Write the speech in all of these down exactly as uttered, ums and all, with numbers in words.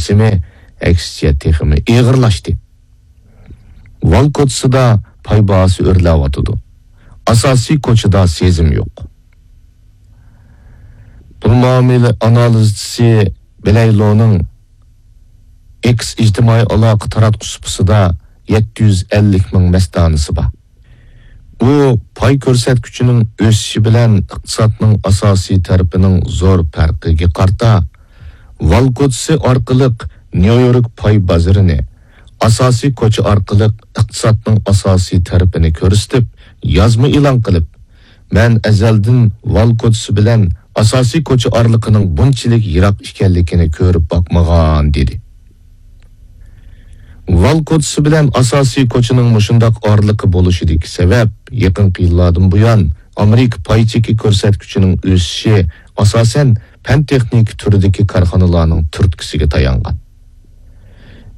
سىمى، ئەكسىچە تېخىمۇ ئېغىرلاشتى. ۋال كوچىسىدا پاي باھاسى ئۆرلەۋاتىدۇ. ئاساسىي كوچىدا سېزىم يوق. پۇل مۇئامىلە ئانالىزچىسى بىلەيلونىڭ ئېكس ئىجتىمائىي ئالاقە تاراتقۇ سۇپىسىدا يەتتە يۈز ئەللىك مىڭ مەستانىسى بار. ئۇ پاي كۆرسەتكۈچىنىڭ ئۆسۈشى بىلەن ئىقتىسادنىڭ ئاساسىي تەرىپىنىڭ زور پەرقىگە قارىتا، ۋال كوچىسى ئارقىلىق نيۇ يورك پاي بازىرىنى، ئاساسىي كوچا ئارقىلىق ئىقتىسادنىڭ ئاساسىي تەرىپىنى كۆرسىتىپ، يازما ئېلان قىلىپ، مەن ئەزەلدىن ۋال كوچىسى بىلەن ئاساسىي كوچا ئارىلىقىنىڭ بۇنچىلىك يىراق ئىكەنلىكىنى كۆرۈپ باقمىغان، دېدى. ۋال كوچىسى بىلەن ئاساسىي كوچىنىڭ مۇشۇنداق ئارىلىقى بولۇشىدىكى سەۋەب، يېقىنقى يىللاردىن بۇيان ئامېرىكا پاي چېكى كۆرسەتكۈچىنىڭ ئۆسۈشى ئاساسەن پەن-تېخنىكا تۈرىدىكى كارخانىلارنىڭ تۈرتكىسىگە تايانغان.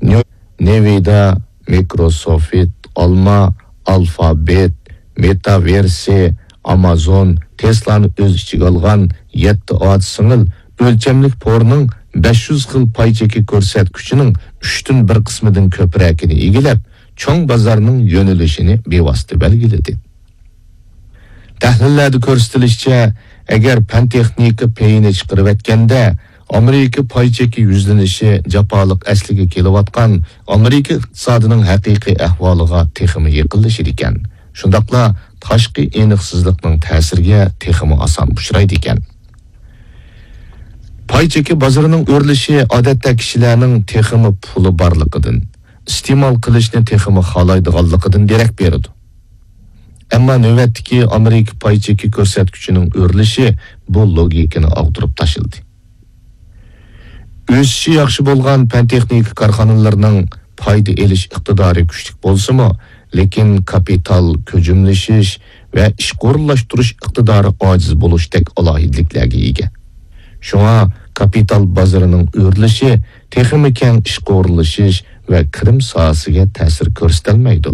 نيو-، نېۋىدا، مىكروسوفت، ئالما، ئالفابېت، مېتاۋېرسى، ئامازون، تېسلانى ئۆز ئىچىگە ئالغان يەتتە ئاچا سىڭىل ئۆلچەملىك پورنىڭ بەش يۈز خىل پاي چېكى كۆرسەتكۈچىنىڭ ئۈچتىن بىر قىسمىدىن كۆپرەكىنى ئىگىلەپ، چوڭ بازارنىڭ يۆنىلىشىنى بىۋاسىتە بەلگىلىدى. تەھلىللەردە كۆرسىتىلىشىچە، ئەگەر پەن-تېخنىكا پېيىنى چىقىرىۋەتكەندە، ئامېرىكا پاي چېكى يۈزلىنىشى جاپالىق ئەسلىگە كېلىۋاتقان ئامېرىكا ئىقتىسادىنىڭ ھەقىقىي ئەھۋالىغا تېخىمۇ يېقىنلىشىدىكەن. شۇنداقلا تاشقى ئېنىقسىزلىقنىڭ تەسىرىگە تېخىمۇ ئاسان ئۇچرايدىكەن. پاي چېكى بازىرىنىڭ ئۆرلىشى ئادەتتە كىشىلەرنىڭ تېخىمۇ پۇلى بارلىقىدىن، ئىستېمال قىلىشنى تېخىمۇ خالايدىغانلىقىدىن دېرەك بېرىدۇ. ئەمما نۆۋەتتىكى ئامېرىكا پاي چېكى كۆرسەتكۈچىنىڭ ئۆرلىشى بۇ لوگىكىنى ئاغدۇرۇپ تاشلىدى. ئۆسۈشى ياخشى بولغان پەن-تېخنىكا كارخانىلىرىنىڭ پايدا ئېلىش ئىقتىدارى كۈچلۈك بولسىمۇ، لېكىن كاپىتال كۆجۈملىشىش ۋە ئىشقا ئورۇنلاشتۇرۇش ئىقتىدارى ئاجىز بولۇشتەك ئالاھىدىلىكلەرگە ئىگە. شۇڭا كاپىتال بازىرىنىڭ ئۆرلىشى تېخىمۇ كەڭ ئىشقا ئورۇنلىشىش ۋە كىرىم ساھەسىگە تەسىر كۆرسىتەلمەيدۇ.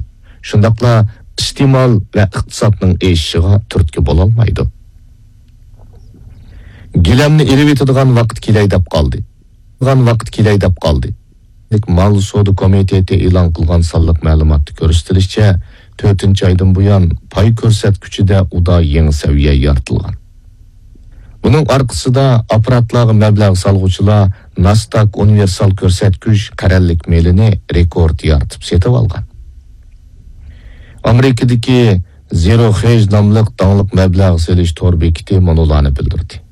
شۇنداقلا ئىستېمال ۋە ئىقتىسادنىڭ ئېشىشىغا تۈرتكە بولالمايدۇ. گىلەمنى ئېلىۋېتىدىغان ۋاقىت كېلەي دەپ قالدى. ۋاقىت كېلەي دەپ قالدى. مال سودا كومىتېتى ئېلان قىلغان سانلىق مەلۇماتتا كۆرسىتىلىشىچە، تۆتىنچى ئايدىن بۇيان پاي كۆرسەتكۈچىدە ئۇدا يېڭى سەۋىيە يارىتىلغان. بۇنىڭ ئارقىسىدا ئاپپاراتلارغا مەبلەغ سالغۇچىلار ناسداك ئۇنىۋېرسال كۆرسەتكۈچ قەرەللىك مېلىنى رېكورت يارىتىپ سېتىۋالغان. ئامېرىكىدىكى زېرو خېج ناملىق داڭلىق مەبلەغ سېلىش تور بېكىتى مۇنۇلارنى بىلدۈردى.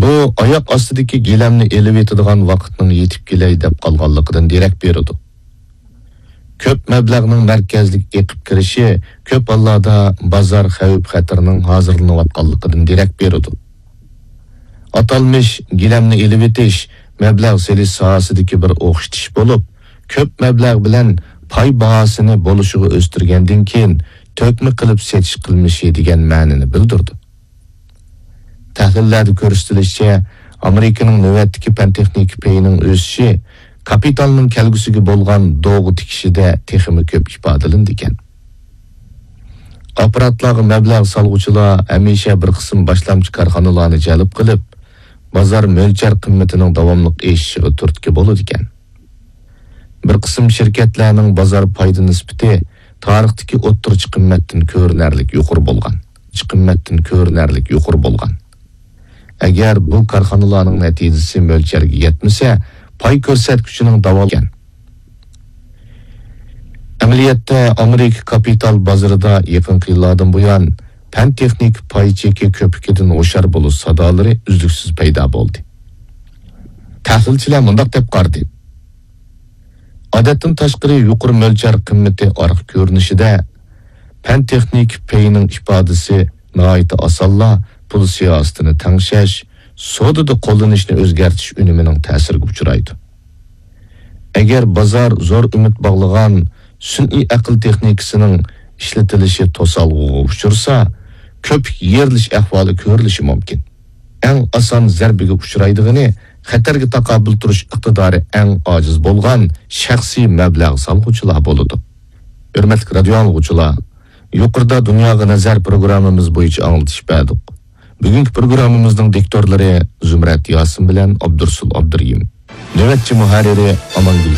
بۇ ئاياق ئاستىدىكى گىلەمنى ئېلىۋېتىدىغان ۋاقىتنىڭ يېتىپ كېلەي دەپ قالغانلىقىدىن دېرەك بېرىدۇ. كۆپ مەبلەغنىڭ مەركەزلىك ئېقىپ كىرىشى كۆپ ھاللاردا بازار خەۋپ-خەتىرىنىڭ ھازىرلىنىۋاتقانلىقىدىن دېرەك بېرىدۇ. ئاتالمىش گىلەمنى ئېلىۋېتىش مەبلەغ سېلىش ساھەسىدىكى بىر ئوخشىتىش بولۇپ، كۆپ مەبلەغ بىلەن پاي باھاسىنى بولۇشىغا ئۆستۈرگەندىن كېيىن تۆكمە قىلىپ سېتىش قىلمىشى دېگەن مەنىنى بىلدۈرىدۇ. تەھلىللەردە كۆرسىتىلىشىچە، ئامېرىكىنىڭ نۆۋەتتىكى پەن-تېخنىكا پېيىنىڭ ئۆسۈشى كاپىتالنىڭ كەلگۈسىگە بولغان دوغا تىكىشىدە تېخىمۇ كۆپ ئىپادىلىنىدىكەن. ئاپپاراتلارغا مەبلەغ سالغۇچىلار ھەمىشە بىر قىسىم باشلامچى كارخانىلارنى جەلپ قىلىپ، بازار مۆلچەر قىممىتىنىڭ داۋاملىق ئېشىشىغا تۈرتكە بولىدىكەن. بىر قىسىم شىركەتلەرنىڭ بازار پايدا نىسبىتى تارىختىكى ئوتتۇرىچە قىممەتتىن كۆرۈنەرلىك يۇقىرى بولغان. قىممەتتىن كۆرۈنەرلىك يۇقىرى بولغان. ئەگەر بۇ كارخانىلارنىڭ نەتىجىسى مۆلچەرگە يەتمىسە، پاي كۆرسەتكۈچىنىڭ داۋاملىق ئەمەلىيەتتە، ئامېرىكا كاپىتال بازىرىدا يېقىنقى يىللاردىن بۇيان پەن-تېخنىكا پاي چېكى كۆپۈكىدىن ھوشيار بولۇش سادالىرى ئۈزلۈكسىز پەيدا بولدى. تەھلىلچىلەر مۇنداق دەپ قارىدى: ئادەتتىن تاشقىرى يۇقىرى مۆلچەر قىممىتى ئارقا كۆرۈنۈشىدە، پەن-تېخنىكا پېيىنىڭ ئىپادىسى ناھايىتى ئاسانلا پۇل سىياسىتىنى تەڭشەش، سودىدا قوللىنىشنى ئۆزگەرتىش ئۈنۈمىنىڭ تەسىرىگە ئۇچرايدۇ. ئەگەر بازار زور ئۈمىد باغلىغان سۈنئىي ئەقىل تېخنىكىسىنىڭ ئىشلىتىلىشى توسالغۇغا ئۇچرىسا، كۆپۈك يېرىلىش ئەھۋالى كۆرۈلۈشى مۇمكىن. ئەڭ ئاسان زەربىگە ئۇچرايدىغىنى خەتەرگە تاقابىل تۇرۇش ئىقتىدارى ئەڭ ئاجىز بولغان شەخسىي مەبلەغ سالغۇچىلار بولىدۇ. ھۆرمەتلىك رادىيو ئاڭلىغۇچىلار، يۇقىرىدا دۇنياغا نەزەر پروگراممىمىز بويىچە ئاڭلىتىش بەردۇق. بۈگۈنكى پروگراممىمىزنىڭ دىكتورلىرى زۇمرەت ياسىن بىلەن ئابدۇرسۇل ئابدۇرېھىم. نۆۋەتچى مۇھەررىرى ئامانگۈل